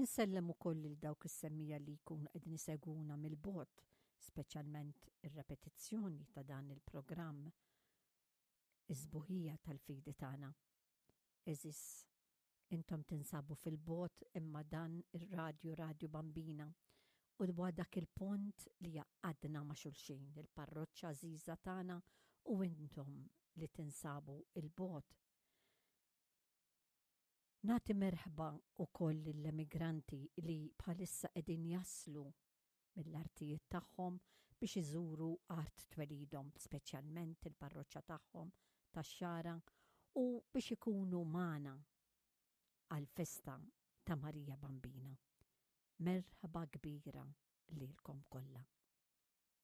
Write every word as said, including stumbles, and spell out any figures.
Insellem ukoll lil dawk is-semmiegħa li jkunu qegħdin isegwuna mill-bogħod, speċjalment ir-repetizzjoni ta' dan il-programm Is-sbuħija tal-fidi tagħna. Għeżież, intom tinsabu fil-bogħod imma dan ir-radju Radju Bambina u huwa dak il-pont li jgħaqqadna ma' xulxin, il-parroċċa għażiża tagħna u intom li tinsabu il-bogħod. Nagħti merħba ukoll lill-emigranti li bħalissa qegħdin jaslu mill-artijiet tagħhom biex iżuru art twelidhom, speċjalment il-parroċċa tagħhom tax-Xagħra u biex ikunu magħna għal-festa ta' Marija Bambina. Merħba kbira lilkom kollha.